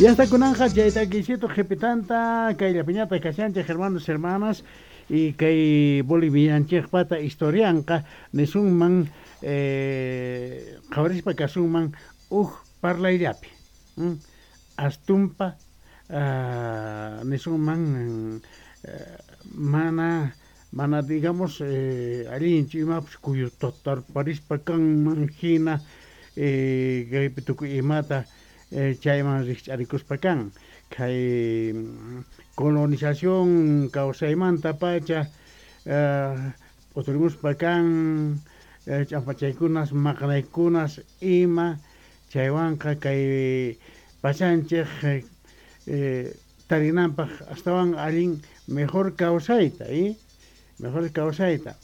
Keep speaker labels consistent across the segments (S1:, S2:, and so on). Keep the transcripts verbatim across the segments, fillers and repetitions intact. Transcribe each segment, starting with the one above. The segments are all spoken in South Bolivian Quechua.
S1: Ya está kunanja chaytakisito qhipitanta kayllapiñata kashanchej hermanos, hermanas, y kay bolivianchejpata historianqa nisunman eh, qhawarispa kasunman uj parlayllapi mm, astumpa uh, nisunman eh, mana mana digamos eh, allinchu imapas kuyutatarparispa kanman hina eh, kaypi tukuy imata eh, chayman rikch'arikuspa kan kay colonización kawsaymanta pacha uh, p'uturimuspa kan eh, ch'ampachaykunas maqanaykunas ima chaywanqa kay pachanchej eh, tarinanpaq astawan allin mejor kawsayta y mejor kawsayta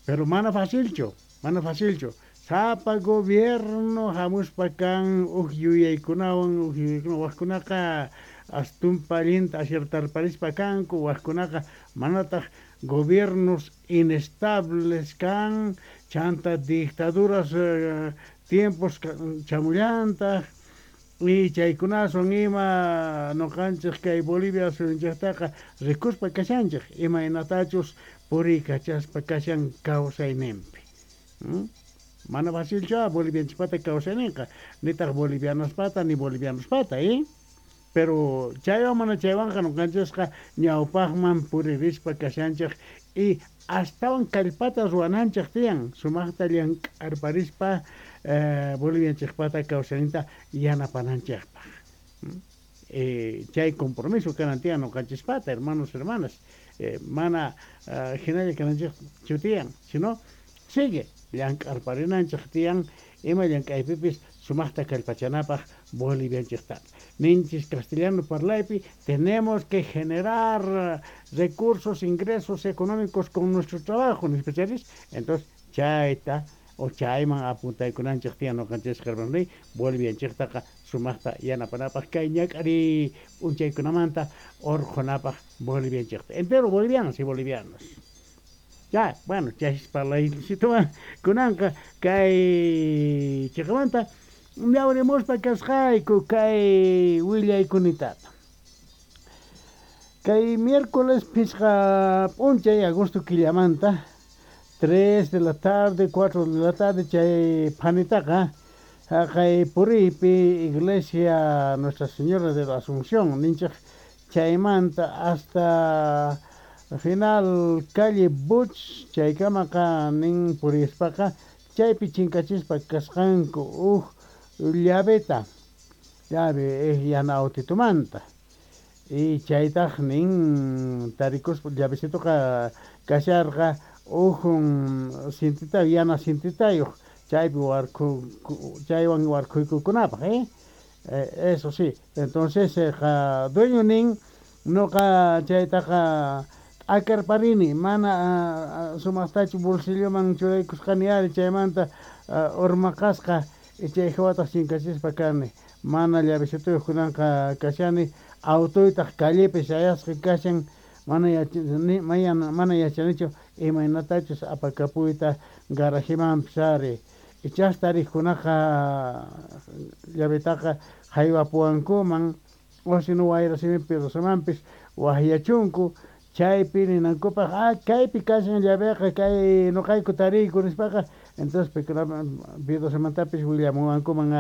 S1: pero mana facilchu mana facilchu sapa gobierno hamuspa kan uj yuyaykunawan uj yuyaykunawan wajkunaqa astumpa allinta aciertarparispa kanku wajkunaqa manataq gobiernos inestables kan chanta dictaduras uh, tiempos chamullantaq y chaykunaswan ima nuqanchik kay Bolivia suyunchiktaqa rikuspa kashanchik imaynatachus puriykachaspa kashan kawsayninpi ¿Mm? Mana facilchu bolivianchikpata kawsayninqa nitaq bolivianospata ni bolivianospata ¿eh? Pero chaywan mana chaywanqa nuqanchikqa ñawpaqman puririspa kashanchik y astawan kallpata ruwananchik tiyan sumaqta llank'arparispa eh, bolivianchikpata kawsayninta yanapananchikpaq eh, chay compromiso kanan tiyan nuqanchispata hermanos, hermanas, eh, mana uh, hinalla kananchikchu tiyan sino sigue llank'arparinanchik tiyan ima llank'aypipis sumaqta kallpachanapaq bolivianchikta ninchis castellano parlaypi tenemos que generar recursos, ingresos económicos con nuestro trabajo nispacharis entonces chayta o chayman apuntaykunanchik tiyan nuqanchis hermanos bolivianchiktaqa sumaqta yanapanapaq kay ñak'ariy p'unchaykunamanta urqhunapaq bolivianchikta entero bolivianos y bolivianos. Ya, bueno, chay parlaycituwan kunanqa kay chiqamanta ñawrimuspa kasqayku kay willaykunitata. Kay miércoles phisqa p'unchay agosto killamanta tres de la tarde, cuatro de la tarde chay phanitaqa haqay puriypi iglesia Nuestra Señora de la Asunción ninchik chaymanta hasta final calle Buch chaykamaqa nin purispaqa chaypi chinkachispa kasqanku uj llaveta llave yana autitumanta y chaytaq nin tarikuspa llavecitoqa kasharqa uj cintita yana cintitayuq chaypi warkhu chaywan warkhuykukunapaq eh eso sí entonces qa dueño nin nuqa chaytaqa t'akarparini mana sumaqtachu bolsilloman churaykusqani ari chaymanta urmaqasqa chay hawataq chinkachispa kani mana llavecituyuq kunanqa kashani autoytaq callepi sayasqa kashan mana yachani mana yachanichu imaynatachus apakapuyta garajemanpis ari ichas tariqkunaqa llavetaqa haywapuwankuman o sino wayra simipi Rosamanpis waqyachunku chaypi ninankupaq ah kaypi kashan llaveqa kay nuqayku tariyku nispaqa entonces paykunapis Piedrosamantapis willamuwankuman.